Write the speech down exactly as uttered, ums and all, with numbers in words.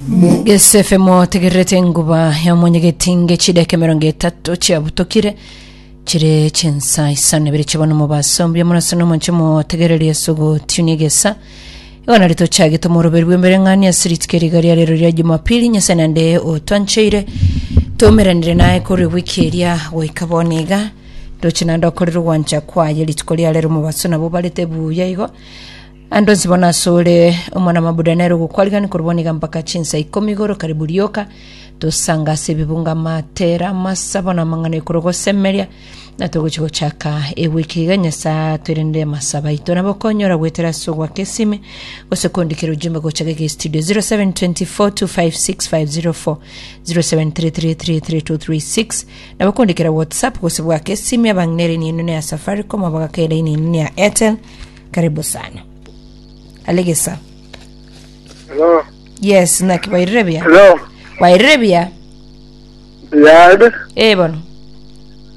Gese F M otegererete enguba ya mwenyegetinge. Chideka emerongo etato chiabutokire chire chinsa isano ibere chibona omobaso. Mbuya mono ase nomonche motegereria ase ogotunia egesa. Igo nari tochagete omoroberi bw'embere ng'ani ase rituko eriga ria rero ria Jumapili. Nyasae naende otwancheire toumeranire naye korwa ewiki eria goika bono iga, ndoche naende okorire ogwancha kwaye rituko ria rero. Omobaso nabo barete buya igo ande onsi bono asore omwana mabuda nere ogokwarigani korwa bono iga mpaka chinsa ikomi igoro. Karibu rioka tosanga ase ebibunga, amatera, amasabo na amang'ana ekoro gosemeria na togochi gochaka ewiki iga. Nyasaye atwerende amasabo aito. Nabo okonyora gwetera ase ogwaka esime gose kondikera ujumbe gocha gege studio zero seven two four two five six five zero four, zero seven three three three three two three six. Nabo kondikera WhatsApp gose bwaka esime. Abang'inere ninu ya Safaricom, abagakera ininu ya Airtel. Karibu sana alegesa. Hello. Yes, naki, wairire buya? Hello. Wairire buya? Yade. Eh, bono.